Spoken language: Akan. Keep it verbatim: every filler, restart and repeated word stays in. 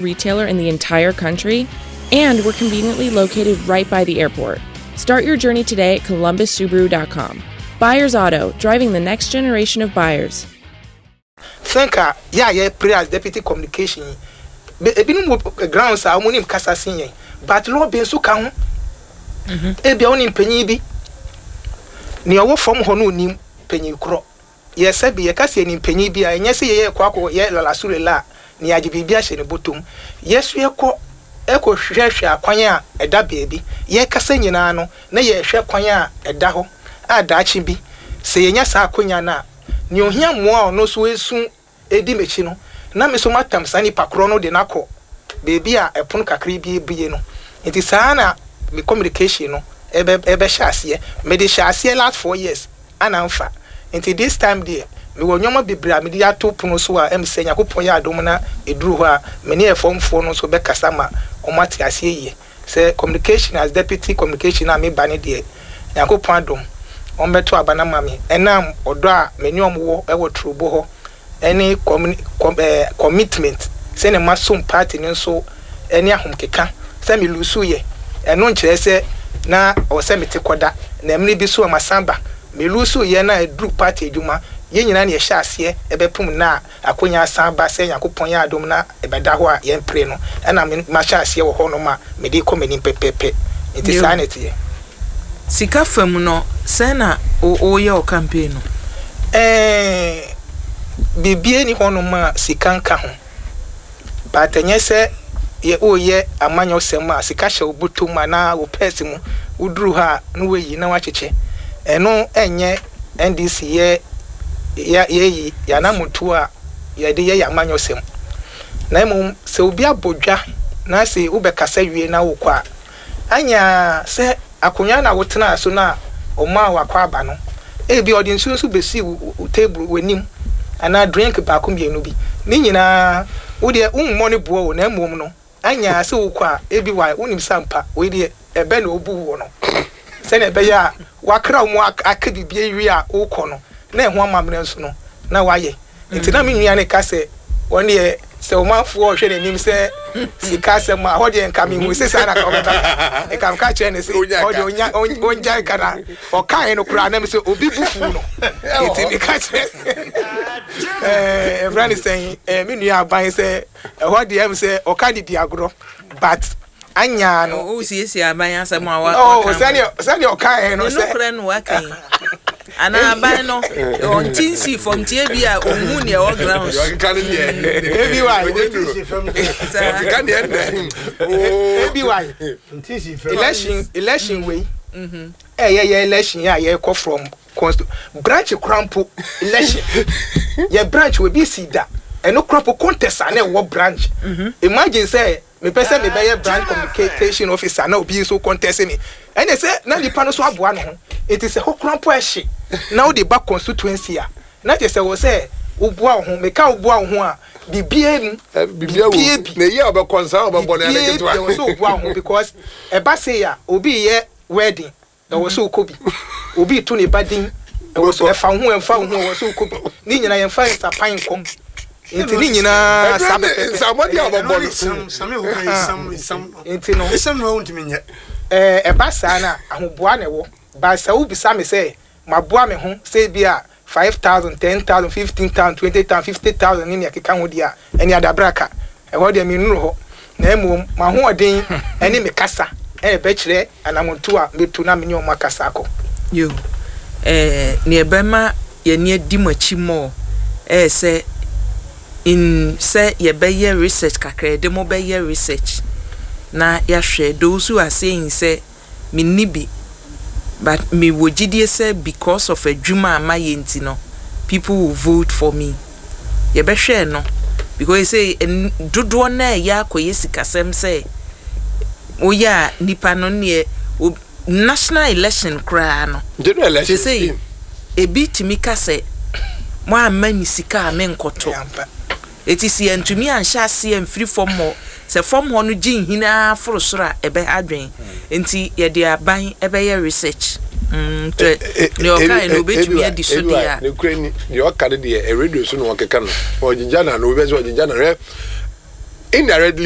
Retailer in the entire country, and we're conveniently located right by the airport. Start your journey today at Columbus Subaru dot com. Buyers Auto, driving the next generation of buyers. Think a yɛ a yɛ pray as deputy communication yi, ebinom wɔ grounds a wɔn nim kasa sen yɛn, but lobby nso ka ho. Ebia wɔn nim panyin bi nea ɔwɔ fam hɔ no, onim panyin korɔ. Yɛsɛ bi yɛka sɛ yɛnim panyin bi a, ɛnyɛ sɛ yɛyɛ kɔ akɔ yɛ lalasure la a nea agye biribi ahyɛ ne bɔtɔm. Yɛso yɛkɔ ɛkɔ hwehwɛ akwan a ɛda beebi. Yɛkasa nyinaa no na yɛhwɛ kwan a ɛda hɔ a daakye bi sɛ yɛnya saa akonnwa no a, nea ohia mmoa a ɔno nso esu edi m'akyi no, na me nso matam saa nipa korɔ no de n'akɔ beebi a ɛpono kakra bi ebie no. Nti saa na me communication no ɛbɛ ɛbɛhyɛ aseɛ. Mede hyɛ aseɛ last four years ana nfa. Nti this time deɛ, mewɔ nneɛma bebree a mede ato pono so a ɛm sɛ Nyankopɔn yɛ adom na ɛduru hɔ a, me ne ɛfɔmfoɔ no nso bɛkasa ma ɔmo ate aseɛ yie sɛ communication as deputy communication a meba ne deɛ, Nyankopɔn adom, wɔn bɛto aba no ma me ɛnam ɔdɔ a me ne ɔmo wɔ ɛwɔ Turobo hɔ ɛne communi com ɛɛ commitment sɛnea ma som party no nso ɛne ahomkeka sɛ me lose yɛ. Ɛno nkyerɛ sɛ na ɔwɔ sɛ mete kɔda na mmere bi so a masan ba. Me lose yɛ na ɛduru party adwuma, yɛn nyinaa na yɛhyɛ aseɛ ɛbɛpem na akonnwa asan ba. Sɛ Nyankopɔn yɛ adom na ɛbɛda hɔ a, yɛmpere no ɛna me mahyɛ aseɛ wɔ hɔnom a mede kɔ m'anim pɛpɛpɛ. Nti saa na ɛteɛ. Sika fam no, sɛn na woyɛ wo campaign no? Ɛɛ biribi ni hɔnom a sika nka ho, but ɛnyɛ sɛ yɛ woyɛ amanyɔsɛm a sika hyɛ wo bɔtɔ mu anaa wo purse mu, woduru hɔ a na woayi na woakyekyɛ. Ɛno ɛnyɛ N D C yɛ yɛ yɛyi yɛanamotuo a yɛde yɛ yɛ amanyɔsɛm. Na mmom sɛ obi abɔ dwa na sɛ wobɛkasa wie na wokɔ a, anya sɛ akonnwa na wotena so na ɔmaa wakɔ aba no, ebi ɔde nsuo nso besi wo wo table w'anim anaa drink baako mmienu bi ne nyinaa, wodeɛ wommɔ ne boɔ o. Na mmom no anya sɛ wokɔ a, ebi wa wonim sɛ ampa wei deɛ ɛbɛ na obu wɔ no sɛnea ɛbɛyɛ a wakra wo mu aka biribi awie a wokɔ no na ɛho amammerɛ nso no na wayɛ. Nti na me nua ne ka sɛ wɔn deɛ sɛ ɔmanfoɔ ɔhwɛ n'anim sɛ sika asɛm a hɔ deɛ, nka mehu sɛ saa na ka ɔbɛba. Nka meka kyerɛ ne sɛ ɔdeɛ ɔnya ɔngya nka na ɔkaeɛ no koraa na me sɛ obi bu fu no. Nti meka kyerɛ ɛɛ ɛfrɛ ne sɛn, ɛɛ me nua aban sɛ ɛhɔ deɛ ɛm sɛ ɔka de di agorɔ, but anya no. O siesie aban asɛm a wa oh sɛdeɛ sɛdeɛ ɔkaeɛ no. Ne sɛ nokorɛ no waka yi anaa aban no ɔnti nsi fam tie bi a ɔnhu nea ɛwɔ grounds. Ɔkeka ne deɛ. Ebi wa. Ɔkeka deɛ ndɛ. Ebi wa election election wei ɛyɛ yɛ election a yɛkɔ from consti branch kora mpo election yɛ branch wɔ bi si da ɛno kora mpo contest a na ɛwɔ branch. Imagine sɛ mepɛ sɛ mebɛyɛ branch communication officer na obi nso contest me, ɛne sɛ na nipa no so aboa ne ho. Nti sɛ hɔ kora mpo ɛhye na wode ba constituency a, na kyerɛ sɛ wɔ sɛ woboa wo ho. Meka woboa wo ho a, bibie mu. Bibia wo bi na eyi a ɔbɛkɔ nsa a ɔbɛbɔ no yɛ bibie ketewa. Bi ɛwɔ sɛ woboa wo ho because ɛba se a obi yɛ wedding, ɛwɔ sɛ wokɔ bi. Obi to ne ba din, ɛwɔ so ɛfa wo ho, ɛmfa wo ho, ɛwɔ sɛ wokɔ bi. Ne nyinaa yɛmfa nsapan nkɔ. Nti ne nyinaa saa ɛdurɛ ne pɛpɛpɛ. Nsamɔde a ɔbɛbɔ no. Nti no ɛɛ ɛba saa na ahoboa na ɛwɔ ba. Sɛ wobisa me sɛ maboa me ho sɛ bi a five thousand, ten thousand, fifteen thousand, twenty thousand, fifty thousand ne nea ɛkeka ho deɛ a, ɛne adabraka ɛhɔ deɛ mennuru hɔ. Na mmom m'ahoɔden ɛne me kasa ɛna ɛbɛkyerɛ anamonto a mɛtu na me ne ɔmo akasa akɔ. Yo, ɛɛ nea ɛbɛma yɛni adi mo akyi mɔɔ ɛyɛ sɛ in sɛ yɛbɛyɛ research kakra. Yɛde mo bɛyɛ research na yɛahwɛ those who are saying sɛ menni bi, but mewɔ gyidie sɛ because of adwuma a mayɛ nti no, people will vote for me. Yɛbɛhwɛ no because sɛ ɛn- dodoɔ no a ɛyɛ akɔyɛ sikasɛm sɛ woyɛ a nipa no neɛ o- national election koraa no. General election. Sesei ebi tumi ka sɛ mo amma ni sika a menkɔto. Ɛyɛ Eti si yɛntumi anhyɛ aseɛ mfiri fam hɔ sɛ fam hɔ no gye nhina foro soro a, ɛbɛha adwen. Nti yɛde aban ɛbɛyɛ research mm nti nea ɔkae no obetumi adi so deɛ a. Ne kura ni deɛ ɔka no deɛ, ɛ radio so na ɔkeka no, ɔgyegya na no obi sɛ ɔgyegya na hwɛ indirectly.